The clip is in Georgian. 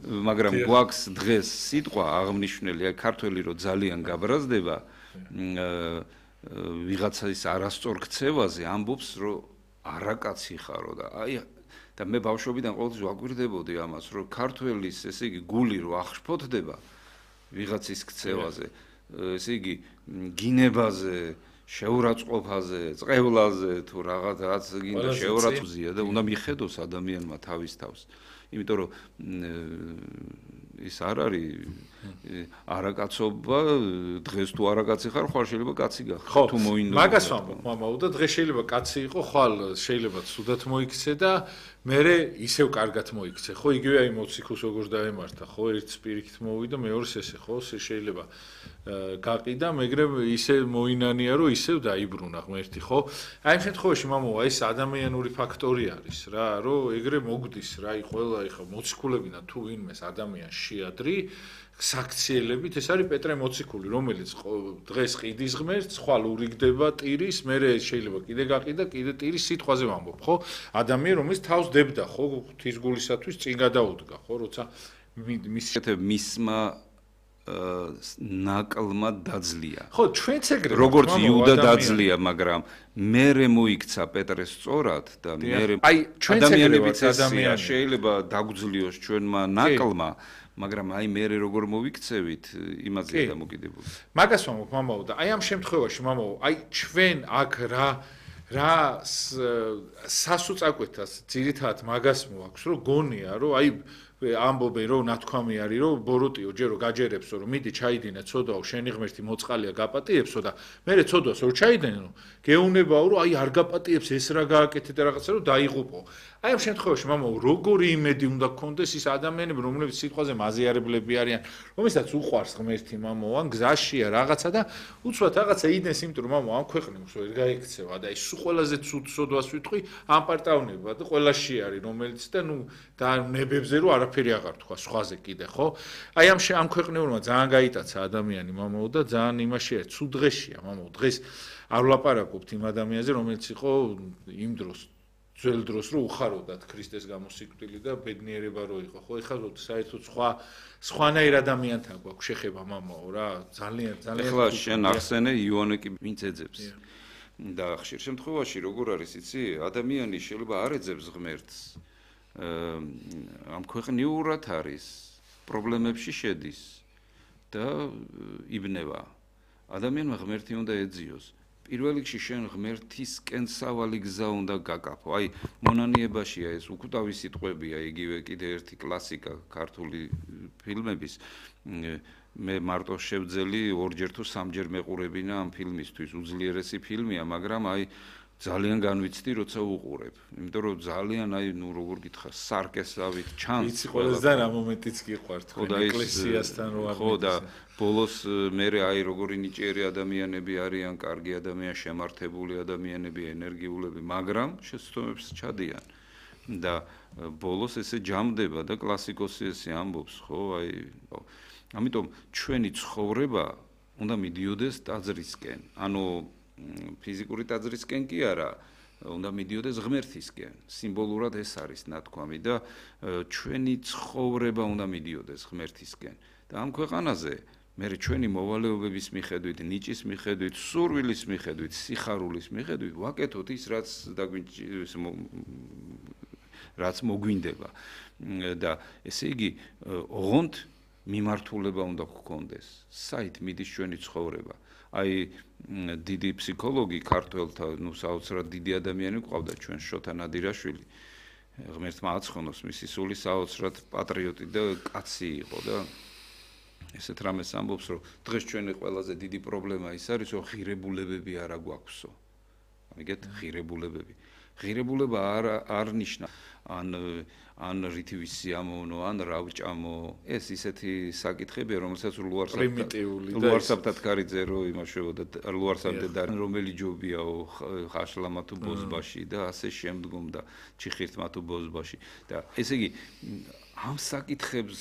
მაგრამ გვაქვს დღეს სიტყვა აღნიშნული, აი ქართველი რო ძალიან გაბრაზდება ვიღაცის არასწორ ქცევაზე ამბობს რომ არაკაცი ხარო და აი და მე ბავშვობიდან ყოველთვის ვაკვირდებოდი ამას რომ ქართველის ესე იგი გული რო აღშფოთდება ვიღაცის ქცევაზე ესე იგი გინებაზე შეურაცხყოფაზე წყევლაზე თუ რაღაც გინდა შეურაცხყოფზია და უნდა მიხედოს ადამიანმა თავის თავს იმიტომ რომ ის არ არის არაკაცობა დღეს თუ არაკაცი ხარ ხვალ შეიძლება კაცი გახარ თუ მოინდო მაგას ვამბობ მამაო და დღეს შეიძლება კაცი იყო ხვალ შეიძლება ცუდად მოიქცე და მერე ისევ კარგად მოიქცე ხო იგივე აი მოციქულს როგორ დაემართა ხო ერთ სპირიქით მოვიდა მეორეს ესე ხო შეიძლება გაყიდა მაგრამ ისე მოინანია რომ ისევ დაიბრუნა ღმერთი ხო აი ამ შემთხვევაში მამაო აი ეს ადამიანური ფაქტორი არის რა რომ ეგრე მოგდის რა აი ყველა ეხა მოციქულებინა თუ ვინმეს ადამიანს შეადრი საქციელებით ეს არის პეტრე მოციქული რომელიც დღეს ყიდის ღმერთს ხვალ ურიგდება ტირის მერე შეიძლება კიდე გაყიდა კიდე ტირის სიტყვაზე ვამბობ ხო ადამიანი რომელიც თავს დებდა ხო ღვთის გულისათვის წინ გადაუდგა ხო როცა მისმა ნაკლმა დაძლია ხო ჩვენც ეგრე როგორც იუდა დაძლია მაგრამ მერე მოიქცა პეტრეს სწორად და მერე ადამიანებიც ესეა შეიძლება დაგვძლიოს ჩვენმა ნაკლმა მაგრამ აი მე როგორ მოვიქცევით იმაზეა დამოკიდებული. მაგას ვამბობ მამაო და აი ამ შემთხვევაში მამაო აი ჩვენ აქ რა სასუწაკვეთას ძირითადად მაგას მოაქვს რომ გონია რომ აი ამბობენ რომ ნათქვამი არის რომ ბოროტიო ჯერო გაჯერებსო რომ მიდი ჩაიდინე ცოდვაო შენი ღმერთი მოწყალია გაპატიებსო და მე ცოდვას რომ ჩაიდენო გეუნებაო რომ აი არ გაპატიებს ეს რა გააკეთე და რაღაცა რომ დაიღუპო აი ამ შემთხვევაში მამაო როგორი იმედი უნდა გქონდეს ის ადამიანები რომლებიც სიტყვაზე მაზიარებლები არიან რომელსაც უყვარს ღმერთი მამაო ან გზაშია რაღაცა და უცბად რაღაცა იდენს იმიტომ რომ მამაო ამ ქვეყნებს ვერ გაიქცევა და ის ყველაზე ცუდ სოდვას ვიტყვი ამ პარტაუნება და ყველაში არის რომელიც და ნუ და ნებებზე რომ არაფერი აღარ თქვა სხვაზე კიდე ხო აი ამ ქვეყნებურმა ძალიან გაიტაცა ადამიანი მამაო და ძალიან იმაში არის ცუდ დღეშია მამაო დღეს არ ვლაპარაკობთ იმ ადამიანზე რომელიც იყო იმ დროს ძველ დროს რო უხაროდათ ქრისტეს გამოსიკვდილი და ბედნიერება რო იყო ხო ეხლა საერთოდ სხვანაირ ადამიანთან გვაქვს შეხება მამაო რა ძალიან ეხლა შენ ახსენე იონე კი ვინც ეძებს და ხშირ შემთხვევაში როგორ არის იცი ადამიანი შეიძლება არ ეძებს ღმერთს ამ ქვეყნიურად არის პრობლემებში შედის და იბნება ადამიანმა ღმერთი უნდა ეძიოს პირველ რიგში შენ ღმერთისკენ სავალი გზა უნდა გაკაფო აი მონანიებაშია ეს უკვდავი სიტყვებია იგივე კიდე ერთი კლასიკა ქართული ფილმების მე მარტო შევძელი ორჯერ თუ სამჯერ მეყურებინა ამ ფილმისთვის უძლიერესი ფილმია მაგრამ აი ძალიან განვიცდი როცა უყურებ იმიტომ რომ ძალიან აი ნუ როგორ გითხრა სარკესავით ჩანს იცი ყველაზე რა მომენტიც გიყვართ ეკლესიასთან რო ხო და ბოლოს მერე აი როგორი ნიჭიერი ადამიანები არიან კარგი ადამიანები შემართებული ადამიანები ენერგიულები მაგრამ შეცდომებს ჩადიან და ბოლოს ესე ჯამდება და კლასიკოსი ესე ამბობს ხო აი ამიტომ ჩვენი ცხოვრება უნდა მიდიოდეს ტაძრისკენ ანუ ფიზიკური ტაძრისკენ კი არა უნდა მიდიოდეს ღმერთისკენ სიმბოლურად ეს არის ნათქვამი და ჩვენი ცხოვრება უნდა მიდიოდეს ღმერთისკენ და ამ ქვეყანაზე მე ჩვენი მოვალეობების მიხედვით ნიჭის მიხედვით სურვილის მიხედვით სიხარულის მიხედვით ვაკეთოთ ის რაც მოგვინდება და ესე იგი ოღონდ მიმართულება უნდა გქონდეს საით მიდის ჩვენი ცხოვრება აი დიდი ფსიქოლოგი ქართველთა ნუ საოცრად დიდი ადამიანი ყავდა ჩვენ შოთა ნადირაშვილი ღმერთმა აცხონოს მისი სული საოცრად პატრიოტი და კაცი იყო და ესეთ რამეს ამბობს რომ დღეს ჩვენი ყველაზე დიდი პრობლემა ის არის რომ ღირებულებები არ აგვაქვსო ამიგეთ ღირებულება არ ნიშნა ან რითივი სიამოვნო ან რავჭამო ეს ისეთი საკითხებია რომელსაც ლუარსაბთად კარიძე რო იმაშებოდა ლუარსაბდე და რომელი ჯობიაო ხაშლამა თუ ბოზბაში და ასე შემდგომ და ჩიხირთმა თუ ბოზბაში და ესე იგი ამ საკითხებს